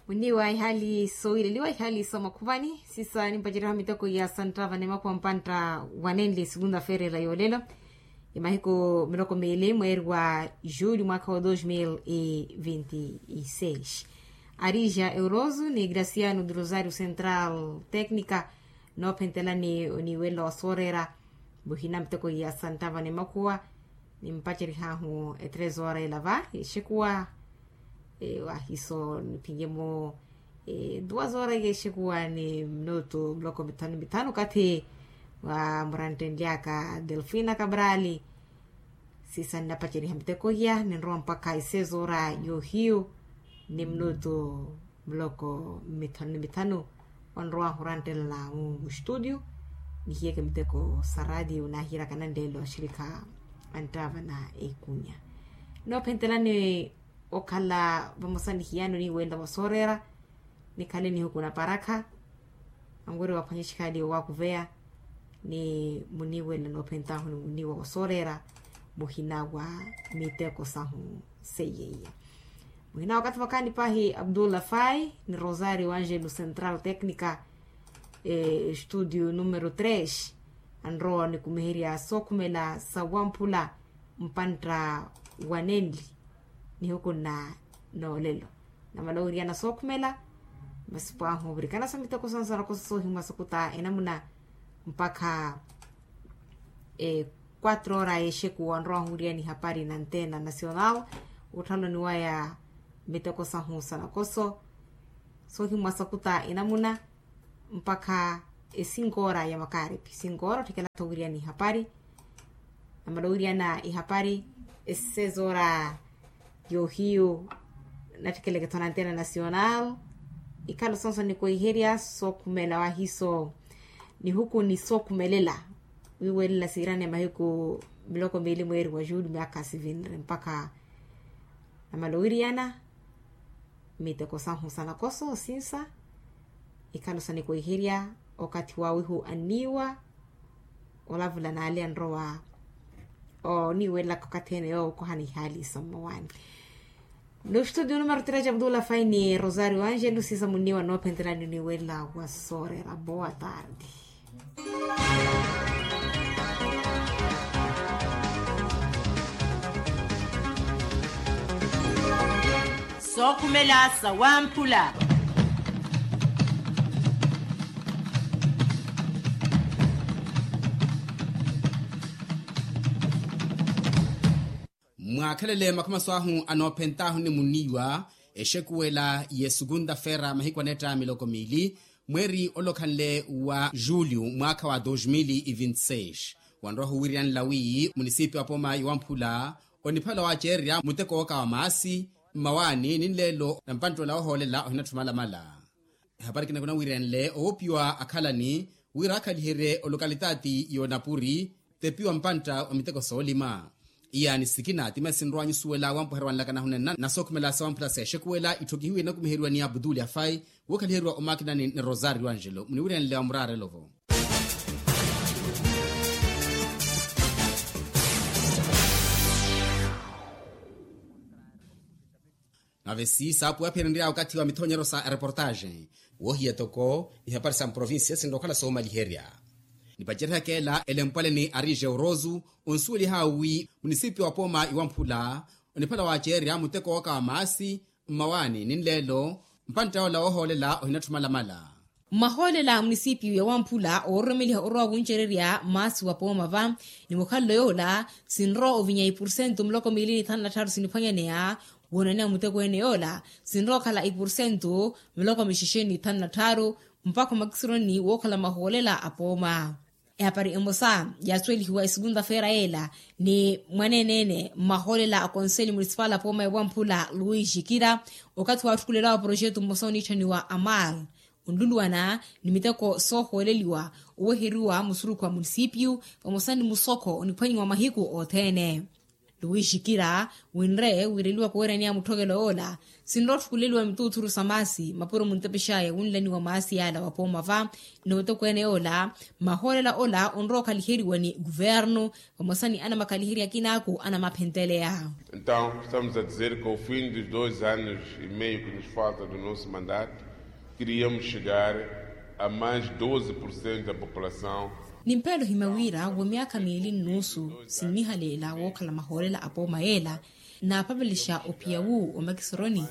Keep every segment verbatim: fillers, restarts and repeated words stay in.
Muniiwa ihaali soowileliwa ihaali somakhuvani sisa nimpaceryaha miteko ya santtava ni makuwa mpantta wanenli sikuntha feerela yoolelo. Imahiku miloko miili mweeri wa julho mwaakha wa dos mil e vinti e seis, arija euroso ni graciano de rosario central tecnica noophentelani oniiwelela wa sooreera. Muhina miteko ya santtava ni makuwa nimpacerihaahu etrezora ela va exekuwa. Wahiso niphinye-mo duwa zora yexekuwa ni minutu muloko mithanu mithanu okathi wa muranttenly'aka delfina kabrali. Sisa nnapaceriha miteko hiya ninrowa mpakha esezora yohiyu ni minutu muloko mithanu ni mithanu. Onrowahu oranttelana mu studio nihiyeke miteko sa radio nahiyeryaka nanlelo axirikha anttavana ekunya. Noophentelani okhala vamosa nihiyano niiwelela wa sooreera. Nikhale nihuku na parakha anweriwa aphwanye xikhaali owakuveya ni muniiwelela noophentahu ni muniiwa wa sooreera. Muhina wa miteko sahu seiyeiya muhina wakathi vakhaani paahi abdullah fai ni rosario angelo central tecnica estudio numero tres. Anrowa onikumiherya sookhumela sa wamphula mpantta wa nenli nihuku nna noolelo. Namala owiriyana sookhumela masi pwaahu ovirikana sa miteko sansana kosa soohimwa sakuta enamuna mpakha quatro ora yexekuwa onrowahu owiriyana ihapari na antena nacional. Wutthalloni waya miteko sahu sa nakoso soohimwa sakuta enamuna mpakha esinko ora ya makarepi sinko ora otthikela-tho owiriyana ihapari. Namala owiriyana ihapari esezora yohiyu natthikela-tho na antena nacional. Ikhalo sonso nikoiherya sookhumela wahiso nihuku ni sookhumelela wiiwelela siirane mahiku miloko miili mweeri wa julho myaakha sivinre mpakha namala owiriyana miteko sahu sa nakoso osinsa. Ikhalo sa nikoiherya okathi wawihu anniiwa olavula naale anrowa oniiwelelaka okathi ene yookohana ihaali sa mmawaani. N'ustudio numero tres abdullah fai ni rosario angelo sisa munniiwa noophentelani oniiwelela wa sooreera boa tarde. Sookhumela sa wamphula. Mwaakhelele makhamaso ahu anoophentaahu ni muniiwa exekuwela y'esukunta feera mahiku anetta miloko miili mweeri olokhanle wa julho mwaakha wa dos mil e vinti seis. Wanrowahu wiiriyanela wi munisipi wa pooma ya wamphula oniphala waaceererya muteko wooka wa maasi mmawaani ni nleelo na mpanttoola woohoolela ohinatthi omalamala. Ehapari kinakuna wiiriyanele owoopiwa akhalani wira akhaliherye olokalitati y'onapuri tepiwa mpantta wa miteko soolima. Iyaani sikina ti masi nrowanyu suwela wampuherya wanlaka nahunenna na sookhumela sa wamphula sa exekuwela itthokihiwe inakumiheriwa ni abduli afai wookhaliheryiwa omakinani ni rosario angelo muniwiryanle wa muraarelo-vo. Nave si saapuwaphirenrya okathi wa mithonyeryo sa ereportaxe woohiya toko ihapari sa mprovincia sinrowa okhala soomaliherya. Nipaceryaka ela elempwale ni arije orosu onsuwelihawe wi munisipi wa pooma iwamphula oniphala waaceerya muteko wooka wa maasi mmawaani ni nleelo mpantta yoola woohoolela ohinatthi omalamala. Mmahoolela a munisipiyu ya wamphula oororomeliha orowa wuncererya maasi wa pooma va ni mukhalelo yoola sinrowa ovinya ipursentu miloko miili ni thanu na tthaaru siniphwanyaneya. Woonaneya muteko ene yoola sinrowa okhala ipursentu miloko mixexe ni thanu na tthaaru mpakha omakisironi wookhala mahoolela a pooma. Ehapari emosa yaasuwelihiwa esukunta feera yeela ni mwaneene-ene mmahoolela a konseli munisipali a pooma ya wamphula luis jikira okathi waatthukulelawa poroxeto mmosa oniitthaniwa amar onluluwana ni miteko soohooleliwa oweheriwa musurukhu wa munisipiyu vamosa ni musokho oniphwanyiwa mahiku othene. Luwixikira winre wireliwa kuweraniya mutthokelo yoola, sinrotthukuleliwa mituuthuru sa maasi mapuro muntepexaya wunlaniwa maasi yaala wapooma va. Ni otokweene yoola, mahoolela ola onrowa okhaliheriwa ni kuvernu vamosa ni anamakhaliherya akinaaku anamaphenteleya. Entaw estamos a dizer ke ofim dos dois anos e meio ke nos falta do nosso mandato, keriamos chegar a mais doze por cento da população. Ni mpeelo ohimya wira wa myaakha miili nnuusu sinnihalela wookhala mahoolela apooma yeela, naapapelexa ophiya wu omakisoroni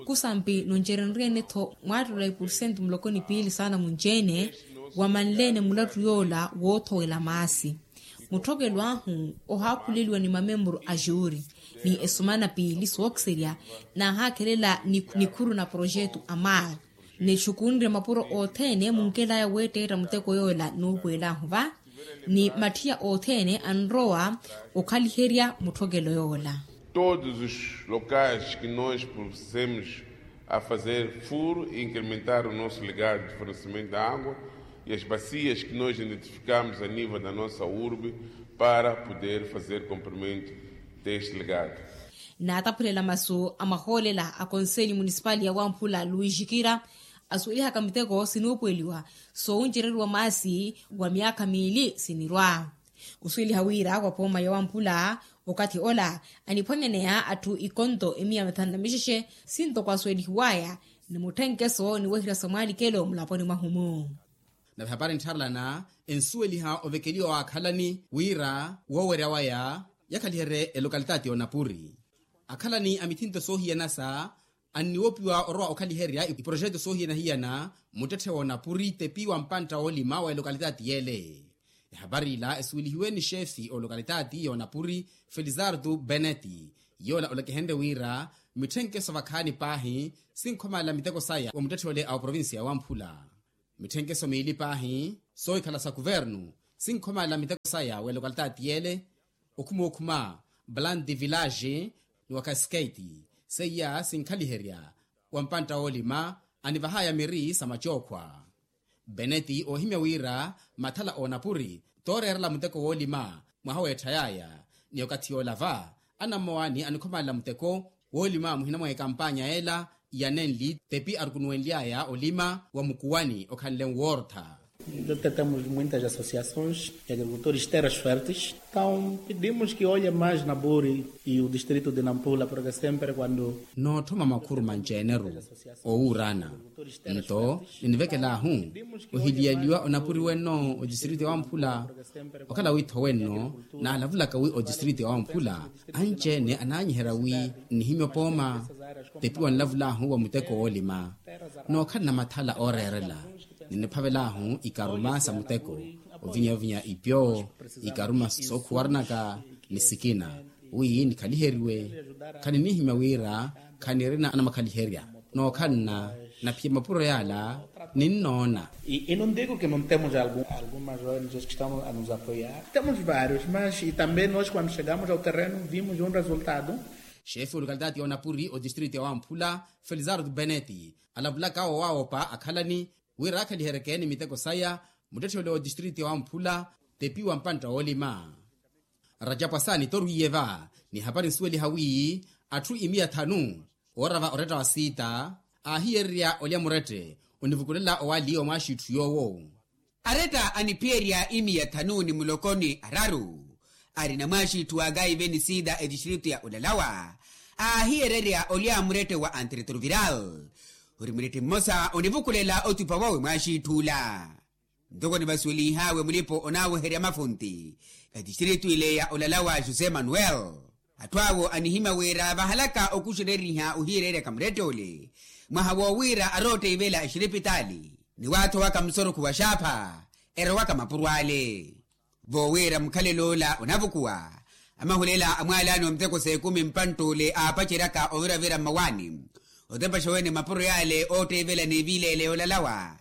kusampi noncerenryeene-tho mwaattola ipursentu muloko ni piili saana munci-ene, wamanleene mulattu yoola woothowela maasi. Mutthokelo ahu ohaakhuleliwa ni mamemburu a juuri ni esumana piili sookiserya, naahaakhelela nikhuru na poroxetu a mar. Nixukunrye mapuro othene munkelaya weetteetta muteko yoola nuupuwelaahu va, ni matthiya othene anrowa okhaliherya mutthokelo yoola. Todos os locais que nós procedemos a fazer furo e incrementar o nosso legado de fornecimento da água e as bacias que nós identificamos a nível da nossa urbe para poder fazer cumprimento deste legado. Naataphulela masu a mahoolela a konselho municipal ya wamphula luwixikira, asuwelihaka miteko sinuupuweliwa soowuncereriwa maasi wa myaakha miili sinirwa. Khusuweliha wira wa pooma ya wamphula okathi ola aniphwanyaneya atthu ikonto emiya mithanu na mixexe, sintoko asuwelihiwaya ni mutthenkeso ni wehirya sa mwaalikelo mulaponi mwahu-mu. Nave hapari nttharelana ensuweliha ovekeliwa wa akhalani wira woowerya waya yakhaliherye elokalitati y'onapuri. Akhalani a mithinto soohiyana sa anniwopiwa orowa okhaliherya iporoxeto soohiyana-hiyana muttetthe w'onapuri tepi wa mpantta woolima wa elokalitati y'ele. Ehapari ila esuwelihiwe ni xeefi olokalitati y'onapuri felizardo beneti, yoola olekehenrye wira mitthenkeso vakhaani paahi sinkhomalela miteko saya wa muttetthe ole a oprovincia ya wamphula. Mitthenkeso miili paahi soohikhala sa kuvernu sinkhomalela miteko saya wa elokalitati y'ele, okhuma okhuma, balante village ni wa cascate, seiya sinkhaliherya wa mpantta woolima anivahaya miri sa macookhwa. Beneti oohimya wira mathala a onapuri tooreerela muteko woolima mwaha weetthayaya, ni okathi yoola va anammowa ni anikhomalela muteko woolima muhina mwa ekampanya ela ya nenli tepi arukunuwenly'aya olima wa mukuwani okhanle nwoortha. Temos muitas associações de agricultores de terras férteis, então pedimos que olhe mais na buri e o distrito de nampula porque sempre quando nootthoma makhuru manci-ene-ru owuuraana. Nto ninivekel'ahu ohiliyaliwa onapuri wenno odistrito ya wamphula. Okhala wiitho wenno naalavulaka wi odistrito ya wamphula anci-ene anaanyiherya wi nnihimya opooma tepi wanlavul'ahu wa muteko woolima. Nookhalana mathala ooreerela niniphavel'ahu ikaruma sa muteko ovinya-vinya ipyo ikaruma sookhuwaranaka ni sikina wi nikhaliheriwe. Khaninihimya wira khanirina anamakhaliherya nookhalana naphiya mapuro yaala ninnoona. E não digo que não temos algumas oenges que estamos a nos apoiar, temos vários mas e também nós quando chegamos ao terreno vimos um resultado. Xeefi olokalitati y'onapuri odistrito ya wamphula felizardo beneti alavulaka owawopa akhalani wira akhaliheryeke ni miteko saya muttetthe ole odistrito ya wamphula tepi wa mpantta woolima. Rajapwasani torwiye va ni hapari nsuweliha wi atthu imiya thanu oorava oretta wa siita aahiyererya olya murette onivukulela owali wa mwaaxitthu yoowo. Aretta aniphiyerya imiya thanu ni muloko ni araru arina mwaaxitthu wa kaive ni siita etistritu ya olalawa aahiyererya olya murette wa anteretruviral ori murette mmosa onivukulela otupa wawe mwaaxitthu ola. Ntoko nivasuwelih'awe mulipo onaaweherya mafunti etistritu ile ya olalawa josé manuel. Atthu awo anihimya wira vahalaka okuxereriha ohiyereryaka murette ole mwaha woowira arootteyivela exiripitaali ni waathowaka musorokhu wa xaapha erowaka mapuro ale. Voowira mukhalelo ola onavukuwa amahulela a mwaalaani wa miteko s'ekumi mpantta ole aapaceryaka oviravira mmawaani otepexa wene mapuro yaale ootteivela n'eviileele yoolalawa.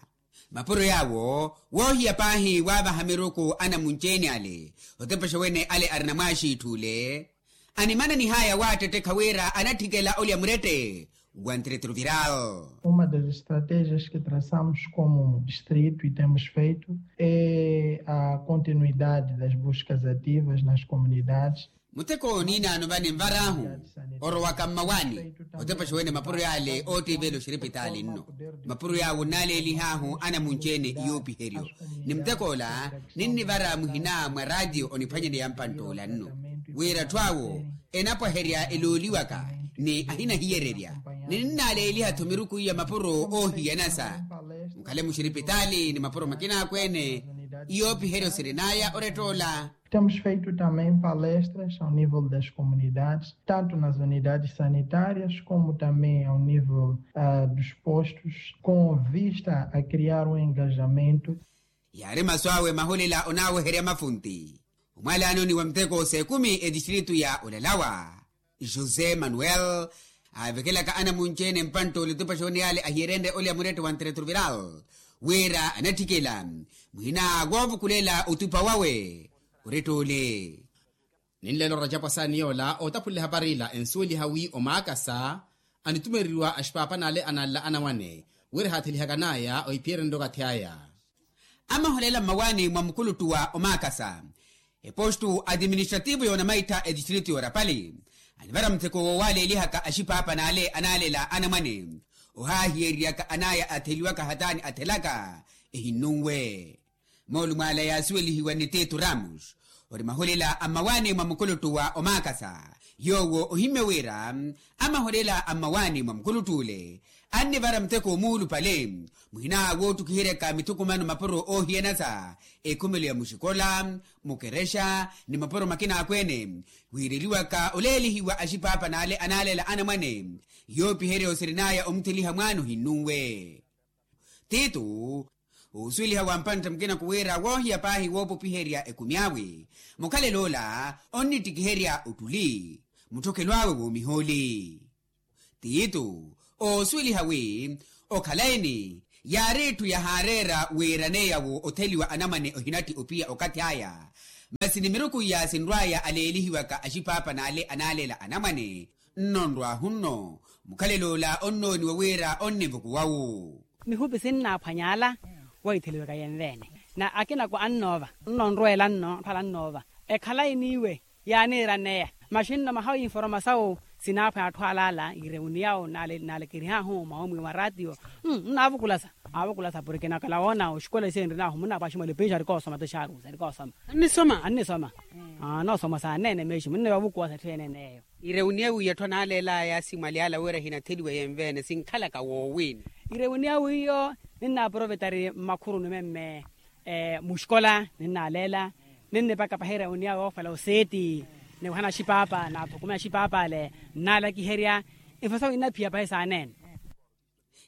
Mapuro yaawo woohiya paahi waavaha miruku anamunci-ene ale otepexa wene ale arina mwaaxiitthu ole animananih'aya waattettekha wira anatthikela olya murette wa nteretruviral. Uma das estratégias que traçamos como distrito e temos feito é a continuidade das buscas ativas nas comunidades. Muteko niinaano vane nvar'ahu orowaka mmawaani otepaxa wene mapuro yaale oottiivela oxiripitaali nno. Mapuro yaawo nnaaleelih'ahu anamunci-ene iyoopiheryo. Ni muteko ola ninnivara muhina mwa raatiyo oniphwanyaneya mpantt'ola nno wira atthu awo enapwaherya elooliwaka ni ahinahiyererya. Ni ninnaaleeliha-tho miruku iya mapuro oohiyanasa mukhale muxiripitaali ni mapuro makinaakweene. Iyoopiheryo sirin'aya orett'ola. Temos feito também palestras ao nível das comunidades, tanto nas unidades sanitárias como também ao nível dos postos, com vista a criar um engajamento. Yaari masu awe mahulela onaaweherya mafunti omwalaanoni wa muteko s'ekumi etistritu ya olalawa. José manuel aavekelaka anamunci-ene mpantt'ole otupaxa oniyale ahiyerenrye olya murette wa nteretruviral wira anatthikela muhina woovukulela otupa wawe. Orette ole. Ninleela orajapu asaani yoola ootaphulela hapari ila ensuweliha wi omaakasa anitumeriwa axipaapan'ale ananla anamwane wira ehaathelihaka n'aya ohiphiyererya okathi aya. Amaholela mmawaani mwa mukuluttu wa omaakasa epostu atiministrativu y'onamaittha etistritu y'orapali anivara mutheko woowaaleelihaka axipaapan'ale anaalela anamwane ohaahiyereryaka an'aya atheliwaka hataani athelaka ehinnunwe. Moolumo ala yaasuwelihiwa ni tito ramos ori mahulela a mmawaani mwa mukuluttu wa omaakasa yoowo ohimmye wira amahulela a mmawaani mwa mukuluttu ole annivara muteko omuulupale muhina woottukiheryaka mithukumano mapuro oohiyanasa ekhumelo ya muxikola mukerexa ni mapuro makinaakweene wiireliwaka oleelihiwa axipaapan'ale anaalela anamwane. Yoopiherya osirin'aya omutheliha mwaana ohinnunwe tito oosuweliha wa mpantta mukina kuwira woohiya paahi woopopiherya ekumi awe mukhalelo ola onnittikiherya ottuli mutthokelo awe woomihooli. Tito oosuweliha wi okhalayi-ni yaari etthu yahaareera wiiraneya wo otheliwa anamwane ohinatti opiya okathi aya masi ni miruku iya sinrw'aya aleelihiwaka axipaapan'ale anaalela anamwane. Nno nrw'ahu nno mukhalelo ola onnooniwa wira onnivukuwa-wo. Mihupi sinnaaphwanya ala wahitheliwaka yenveene na akinako annoova nno nrweela nno atthu ala annoova ekhalayi n'iwe yaaniiraneya. Maxi nno mahawu informasawu sinaaphwanya atthu ala ala ireuniyawu naalekerih'ahu mwa omwi wa raatiyo nnaavukulasa aavukulasa porke nakala woona oxikola ise nrin'ahu munna paaxi mwalipiixi arikoosoma tixaarusa arikoosoma annisoma annisoma. Anosoma saaneene meeximu nne vavukuwa sa etthu enene eyo. Ireuniya wiya atthu anaaleelaya simwali ala wira hinatheliwa yenveene sinkhalaka woowini. Ireuniya wiyo ninnaaprovetari mmakhuruni memme muxikola ninnaaleela ninnipaka pahi ireuniya yoofela oseeti niwahana axipaapa naathukumya axipaapa ale nnaalakiherya. Infesawu innaphiya pahi saaneene.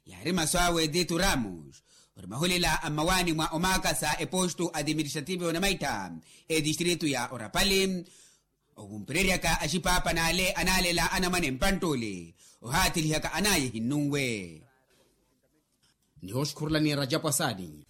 Yaari masu awe tito ramos ori mahulela a mmawaani mwa omaakasa epostu atiministrativu y'onamaittha etistritu ya orapali. Ovumpereryaka axipaapan'ale anaalela anamwane mpantt'ole ohaathelihaka an'aya ehinnunwe. Nihooxukhurulani erajapu asaani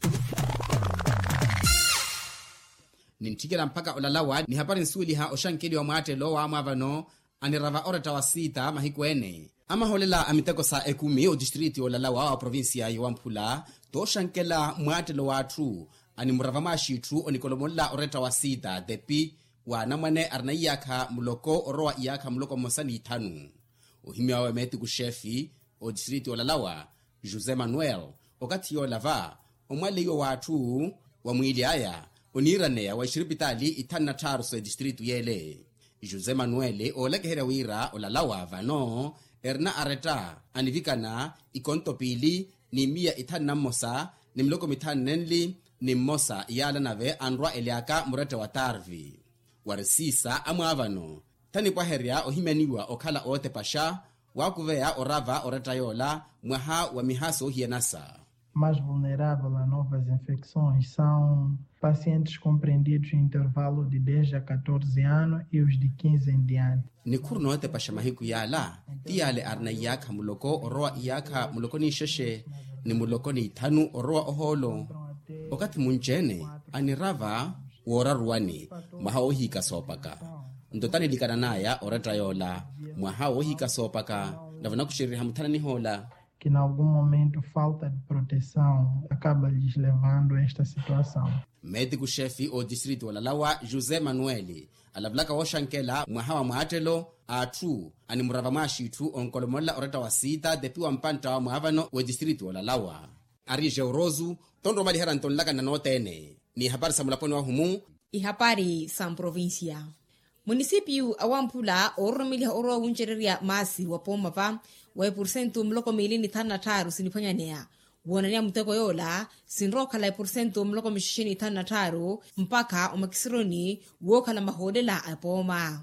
nintthikela mpakha olalawa ni hapari nsuweliha oxankeliwa mwaattelo waamwaavano anirava oretta wa siita mahiku ene. Amaholela a miteko sa ekumi otistritu y'olalawa wa provincia y'owamphula tooxankela mwaattelo w'atthu animurava mwaaxitthu onikolomolela oretta wa siita tepi wa anamwane arina iyaakha muloko orowa iyaakha muloko mmosa n'ithanu. Ohimya wawe meetiku xefi otistritu y'olalawa josé manuel okathi yoolava omwaleiwa w'atthu wa mwiili aya oniiraneya wa exiripitaali ithanu na tthaaru s'etistritu y'ele. José manuel oolakiherya wira olalawa vano erina aretta anivikana ikonto piili ni miya ithanu na mmosa ni miloko mithanu nenli ni mmosa yaala nave anrwa elyaka muretta wa tarvi. Wari siisa amwaavano thanipwaherya ohimyaniwa okhala ootepaxa waakuveya orava oretta yoola mwaha wa miha soohiyanasa. Mais vulnerável a novas infecções são pacientes compreendidos em intervalo de dez a catorze anos e os de quinze em diante. Nikhuru nootepaxa mahiku yaala ti yaale arina iyaakha muloko orowa iyaakha muloko n'ixexe ni muloko n'ithanu orowa ohoolo. Okathi munci-ene anirava wooraruwani mwaha woohiika soopaka nto tanilikana n'aya oretta yoola mwaha woohiika soopaka nave onakuxereriha muthana nihoola. Que n'algum momento falta de proteção acaba lhes levando a esta situação. Meetiku xefi otistritu olalawa josé manuel Alavulaka wooxankela mwaha wa mwaattelo a atthu animurava mwaaxitthu onkolomolela oretta wa siita tepiwa mpantta wa mwaavano w'etistritu yoolalawa. Ari jeurosu tonrowa omaliherya ntonlakana nootene. N'ihapari sa mulaponi wahumu. Ihapari sa mprovincia. Munisipiyu a wamphula oororomeliha orowa wuncererya maasi wa poomapa wa epursentu muloko miili ni thanu na tthaaru siniphwanyaneya woonaneya muteko yoola sinrowa okhala epursentu muloko mixexe ni thanu na tthaaru mpakha omakisironi wookhala mahoolela a epooma.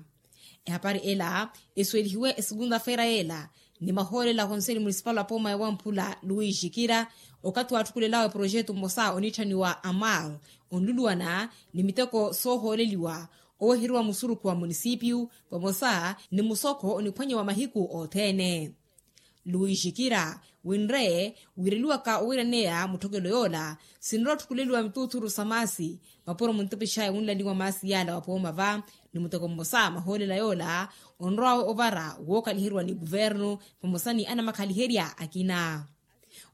Ehapari ela esuwelihiwe esukunta-feira yeela ni mahoolela a konseli munisipali a pooma ya wamphula luis jikira okathi waatthukulelawe projetu mmosa oniitthaniwa amal onluluwana ni miteko soohooleliwa oweheriwa musurukhu wa munisipiyu vamosa ni musokho oniphwanyiwa mahiku othene. Luis jikira winre wiireliwaka owiraneya mutthokelo yoola sinrowa otthukuleliwa mituuthuru sa maasi mapuro muntipixaya wunlaliwa maasi yaala wa pooma va ni muteko mmosa mahoolela yoola onrowawe ovara wookaliheriwa ni kuvernu vamosa ni anamakhaliherya akina.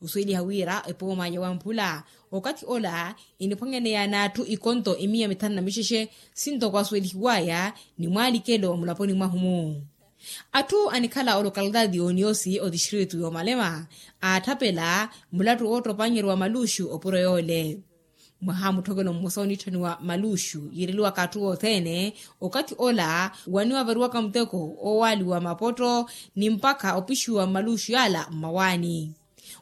Osuweliha wira epooma ya wamphula okathi ola eniphwanyaneya n'atthu ikonto emiya mithanu na mixexe sintoko asuwelihiwaya ni mwaalikelo mulaponi mwahumu. Atthu anikhala olokalitaati y'oniyoosi otistritu y'omalema aatthapela mulattu woottopanyerya wa maluxu opuro yoole. Mwaha mutthokelo mmosa oniitthaniwa maluxu yiireliwaka atthu othene okathi ola waniwavariwaka muteko oowaaliwa mapotto ni mpakha opixiwa mmaluxu yaala mmawaani.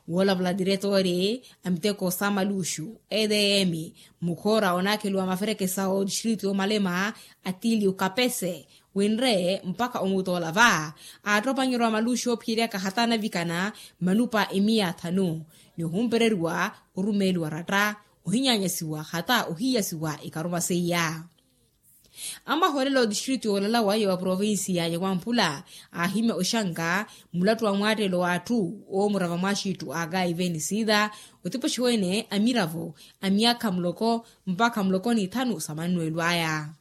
Woolavula tiretore a miteko sa maluxu edm mukhoora onaakheliwa maferekesa otistritu y'omalema atiliu kapese winre mpakha omuuta ola va aattopanyerya wa maluxu oophiyeryaka hata anavikana manupa emiya athanu ni ohumpereriwa orumeeliwa ratta ohinyaanyasiwa hata ohiyasiwa ikaruma seiya. Amahoolela otistritu yoolalawa ya wa provincia ya wamphula aahimya oxanka mulattu wa mwaattelo w'atthu oomurava mwaaxiittu a kaive ni siita otipoxiwene a miravo a miyaakha muloko mpakha muloko ni ithanu sa mannuwelo aya.